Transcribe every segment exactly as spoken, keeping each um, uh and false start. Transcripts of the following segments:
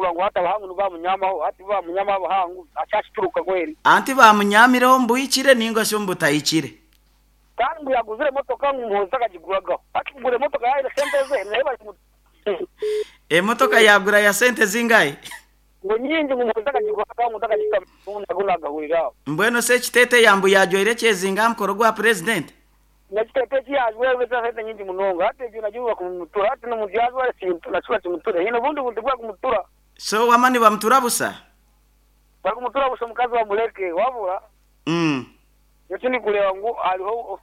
kuba ngu hata bahangu nibamunyamaho hati bamunyama abahangu akyakituruka kweri. Anti bamunyamireho mbuhikire ninga sho mbutahikire. Kandi ngu yaguzire emotoka ngu Muhoozi takagiguragaho. Hati kugura emotoka yaire sente ze naye bari emotoka yagura ya sente zingahe? Ngo nyingi ngu Muhoozi takagiguragaho ngu takagitagahuriraho. Mbwenu se ekiteteeyi yambu yajwaire kyezinga mukoro gwa president? Nekiteteeyi kiyajwaire sente nyingi munonga hati ebyo nagyo bakumutura hati n'omuntu yajwaire kintu nakyo bakimutura hine obundi buntu bwakumutura. So wama nibamutura busa? Bakumutura busa omukazi bamureke wabura. Mm. Ekyo ndikureba ngu hariho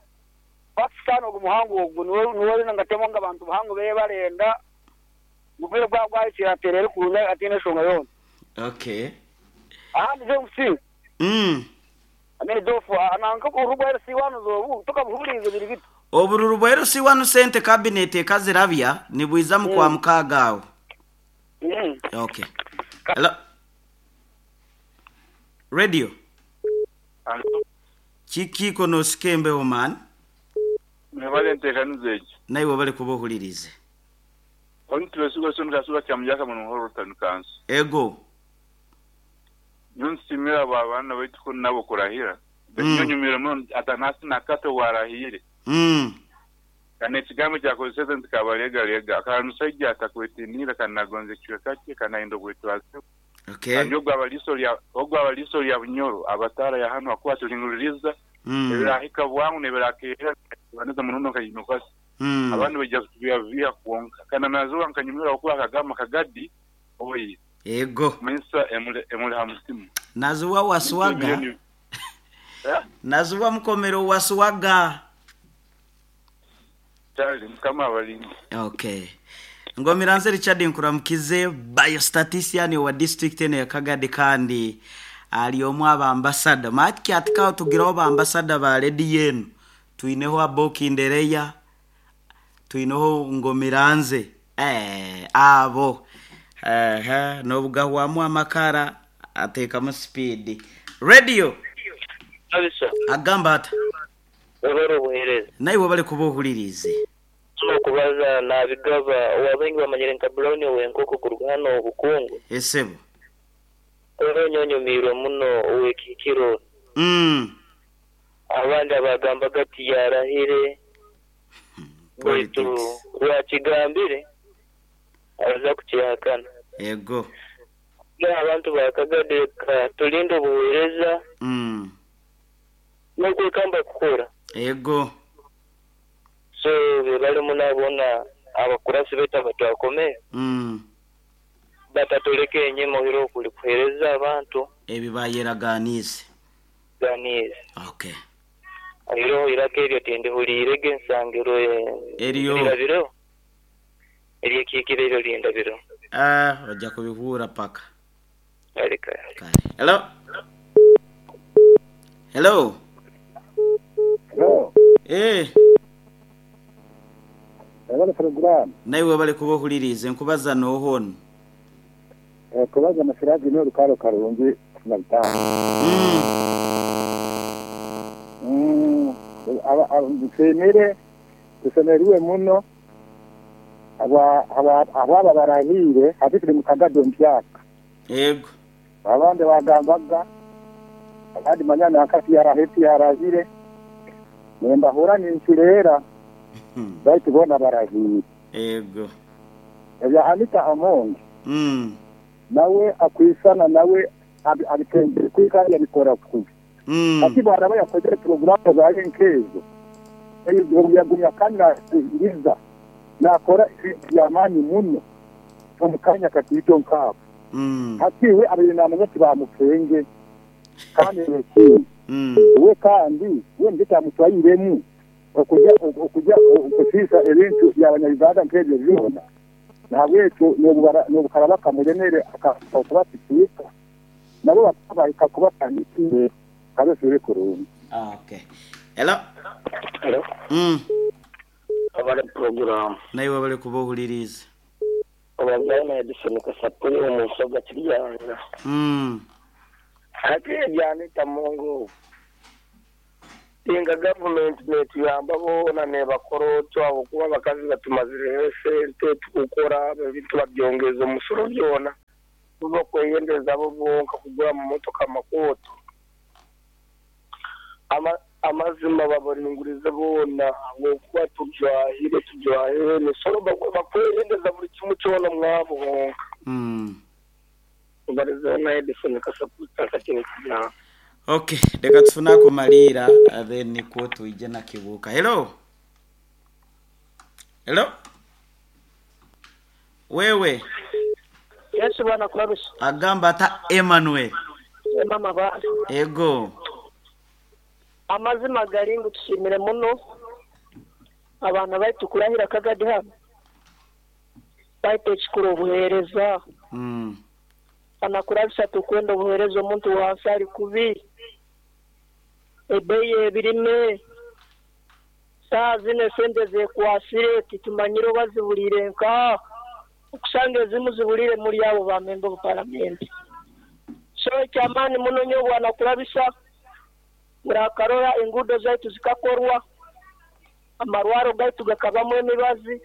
Pakistan ogu muhango ogu niwe niwe ngatemo nga abantu bahango beye barenda mubire bwa bwahikire aterere kurunga atiine enshonga yoona. Okay. Ahandi James. Mm. Amene dofu ananka kurugwa L C one zobu tukabuhurize biri bitu. Obururu bwa L C one sente cabinet ekazirabya nibwiza mu kwa mukaga awo. Mm. Okay. Hello. Radio. Hello. Kiki kono sikembe oman? Mwebale nteekaniza eki. Naiwe bali kubohulirize. Onitulesigo sono kasuba kya mujaka muno horo tanukansi. Ego. Nyonsimira abo abaana baitu ko nabo kurahira. Nyonyumira muno atanasi nakato warahire. Mm. Kana ekigambo kyakozesa nti kabaregarega. Kana musajja atakwetinira kana gonze kichweka kye kana endo kwetwaza. Okay. Kandi ogwo abaliso lya ogwo abaliso lya Bunyoro abatara ya hano akuwa tulinguliriza. Mm. Ebirahika bwangu nebirakera baneza munono kayinokasi. Mm. Abantu bajja kutubya kuonka. Kana nazuwa nkanyumira okuwa kagama kagadi oyi. Ego. Mensa emule emule hamusimu. Nazuwa waswaga. Nazuwa mkomero waswaga. Tali mkama abalindi. Okay. Ngomiranze Richard Nkuramukize biostatistician wa district eno ya Kagadi kandi ali omu aba ambassador. Maki atikao tugiraho ba ambassador ba lady yenu. Tuineho Aboki Ndereya. Tuineho Ngomiranze. Eh abo. Eh nobugahwamu amakara atekamu speed. Radio. Abisa. Agamba ata. Webare obuhereza. Naiwe bali kubohulirize. Okubaza nabigaba wabengi bamanyire nka Brown owenkoko kuruga hano obukungu. Esebo. Onyonyomirwe muno owekikiro. Mm. Abandi abagamba gati yarahire. Baitu lwakigambire aza kukihakana. Ego. Ya abantu bakagade tulinde obuhereza. Mm. N'okwekamba kukora. Ego. So bali munabona abakurasi beta batwakome. Mm. Batatoleke enyemo hiro kuli kuhereza abantu ebibayeraganize. Ganize. Okay. Hiro irake eryo tende hulirege ensangero eriyo erabiro. Eriyo kikire eryo lindabiro. Ah, ojja kubihura paka. Alika. Hello. Hello. Hello. Eh. Ebale program. Naiwe bali kubohulirize nkubaza nohono. Eh kubaza masiraji no rukaro karungi na bitano. Mm. Mm. Aba aba tusemerwe muno aba aba aba barahire hati tuli mukagado mpyaka. Yego. Abandi bagambaga abandi manyana akati yaraheti yarahire. Nemba hora ninchurera. Baitu bona barahire. Yego. Ebya Anita Among. Mm. Nawe akwisana nawe abitende kwika yabikora kubi. Mm. Ati baraba yakoze programu za nkezo. Eyo yagumya kandi ngiza. Nakora yamani muno. Omukanya katito nkabo. Mm. Ati we abinamanya tibamupenge. Kandi neki. Mm. We kandi we nditamutwayiremu. Okujja okujja okusisa ebintu by'abanyarwanda nk'ebyo byona. Nahabwekyo n'obukarabaka mulemere akakubatiika nabo bakabahika kubatandikire kabesure kurungi. Ah, okay. Hello. Hello. Mm. Abale program. Naiwe bali kubohuliriza. Abazana Edison kasapuri omusoga kiriyanga. Mm. Ate ebyanita Mungu. Inga government netuyamba bona nebakoro abo kuba bakazi batumazire sente tukukora ebintu babyongeza omusoro byona. Bakweyendeza abo bonka kugura mu motoka amakoto ama amazima babaringurize bona ngokuba tujwahire tujwahire nisoro bakweyendeza buri kimwe cyona mwabo bonka mm ubarize na Edison kasaputa kakini kijana. Okay, reka tufuna kumalira then niko tuije na kibuka. Hello. Hello. Wewe Yesu bwana kurabisa. Agamba ata Emmanuel. Mama ba. Ego. Amazima garingu tushimire muno. Abana baitu kurahira Kagadi hano. Baitu chikuru obuhereza. Mm. Anakurabisa tukwenda obuhereza omuntu wansi ari kubi. Ebeye birime. Saa zine sente zekwasire titumanyire bazibulire nka. Okusanga ezimu zibulire muri abo ba member of parliament. So ekyamaani muno nnyo bwana kurabisa murakarora enguudo zaitu zikakorwa, amarwaro gaitu gakabamu emibazi,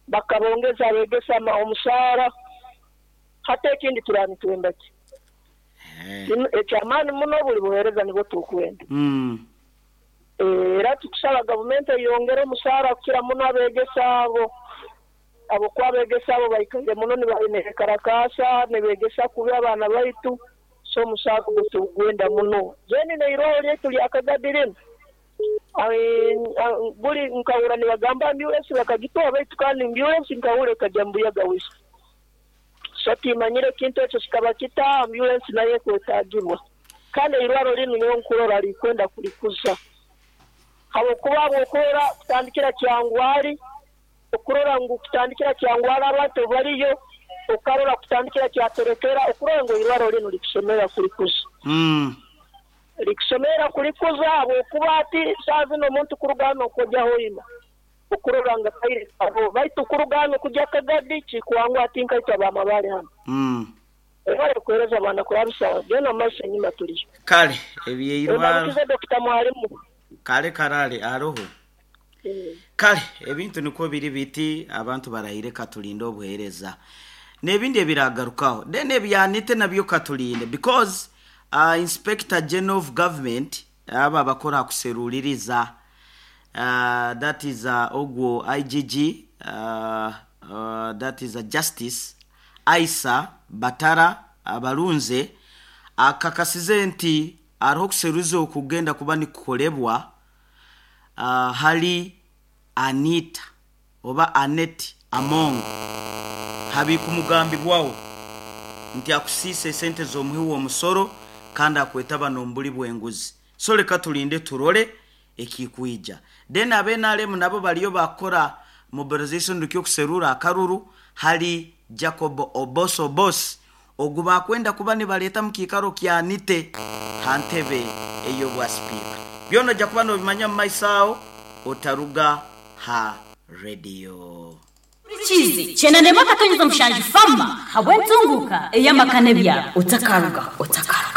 bakabongeza abegesa omusaara, hata ekindi turanitwenda ki. Ekyamaani muno buli buheereza nibwo tukwenda. Mm. Era tukusaba gavumenti eyongere omusaara kukira muno abegesa abo. Abo kwabegesa abo baikaire muno nibaine karakasa nibegesa kubi abaana baitu, so omusaara ogwo tugwenda muno. Zeni neiroho lyaitu lya Kagadi linu buli nkahura nibagamba ambulance bakagitoa baitu kandi ambulance nkahura ekajya mbuyaga wisa. So timanyire kintu ekyo kikaba kita ambulance nayo ekwetagibwa. Kandi eirwaro linu nyowe nkurora likwenda kulikuza. Habwokuba bw'okurora kutandikira Kyangwari, okurora ngu kutandikira Kyangwari abantu bariyo, okarora kutandikira Kyaterekera, okurora ngu eirwaro linu likusomera kulikuza. Mm. Likusomera kulikuza habwokuba ati saa zino omuntu kuruga hano kujya Hoima, okurora nga kaire abo baitu kuruga hano kujya Kagadi kikwangu ati nkaitwa bamabare hano. Mm. Ebare kuhereza abana kurabisa gena maisha nyuma tuliyo. Kale ebyeirwaro. Obakize Dokita Mwalimu. Kale karale aroho. Mm. Kale ebintu niko biri biti abantu barahire katulinde obuhereza. Nebindi ebiragarukaho. Then ebyanite nabyo katulinde because uh, Inspector General of Government aba bakora kuseruliriza uh, that is uh, ogwo I G G uh, uh, that is a Justice Aisa Batara abalunze akakasize nti ariho kuseruza okugenda kuba nikukolebwa uh, hali Anita oba Anet Among habikumugambibwawo nti akusise sente z'omuhi w'omusoro kandi akwetaba n'ombuli bw'enguzi. So leka tulinde turole ekikuija. Then abenalemu nabo baliyo bakora mobilization rukyo kuserura akaruru hali Jacob Oboso Boss ogu bakwenda kuba nibaleta mu kikaro kya Anite hantebe eyo bwa speaker. Byona ja kuba nobimanya mu maisao otaruga ha radio. Chizi chenande makatonyeza mshanji fama habwentunguka eyamakane bya otakaruga otakaruga.